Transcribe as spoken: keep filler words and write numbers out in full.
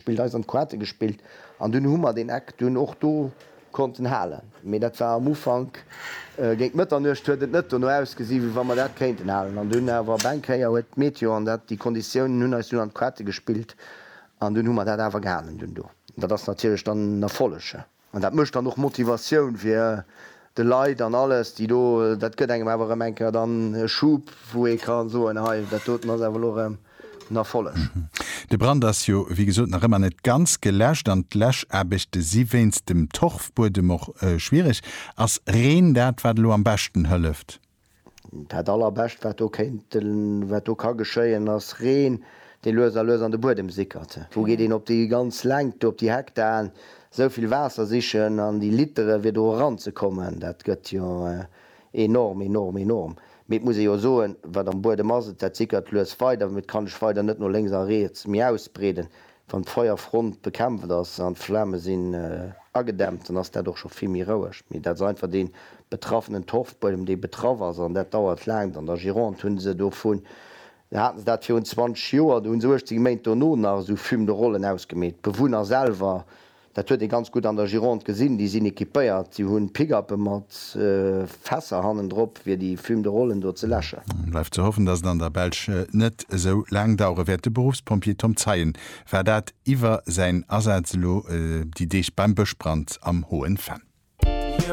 Gespillt, eis an d'Kaarte gespillt an dunn hu mer deen Eck dunn och do konnten halen. Mee dat war am Ufank, géint Mëtternuecht huet et net dono ausgesi wéi wa mer dat kéinten halen. An dunn awer op eng Kéier huet d'Meteo an dat, déi Konditiounen hunn eis dunn an d'Kaarte gespillt an dunn hu mer dat awer gehalen dunn do. Dat ass natierlech dann en Erfolleg. An dat mécht dann och Motivatioun fir de Leit an alles, déi do, dat gëtt engem awer erëm eng Kéier dann e Schub, wou ee ka soen, hei dat doten ass awer elo erëm en Erfolleg. De Brand ass jo wéi gesot nach ëmmer net ganz geläscht an d'Läschaarbechte si wéinst dem Torfbuedem och schwiereg. Ass Reen dat, wat elo am beschten hëlleft? Dat allerbescht wat do kéint, wat do ka geschéien, ass Reen, dee lues a lues an de Buedem sickert. Wou geet een op déi ganz Längt do, op déi Hektaren, esou vill Waasser sichen an déi Litere fir do eranzekommen? Dat gëtt jo enorm, enorm, enorm. Mee et muss ee jo soen, wat am Buedem ass, dat sickert lues weider, mee et kann sech weider net no lénks a riets méi ausbreeden. Wann d'Feuerfront bekämpft ass an d'Flame sinn agedämmt, dann ass dat och scho vill méi roueg. Mee dat ass einfach dee betraffenen Torfbuedem, dee betraff ass, an dat dauert laang. An der Gironde hu se dovun, haten se dat virun zwanzeg Joer, do hu se uechtzéng Méint dono nach esou Fume de Rollen ausgemeet. D'Bewunner selwer, dat huet ee ganz gutt an der Gironde gesinn, déi sinn equipéiert, déi hunn Pick-uppe mat Fässer hannendrop, fir déi Fume de Rollen do ze läschen. Bleift ze hoffen, datt et an der Belsch net esou laang dauere wäert. De Beruffspompjee Tom Zeien war dat iwwer säin Asaz elo déi Deeg beim Bëschbrand am Hohen Venn.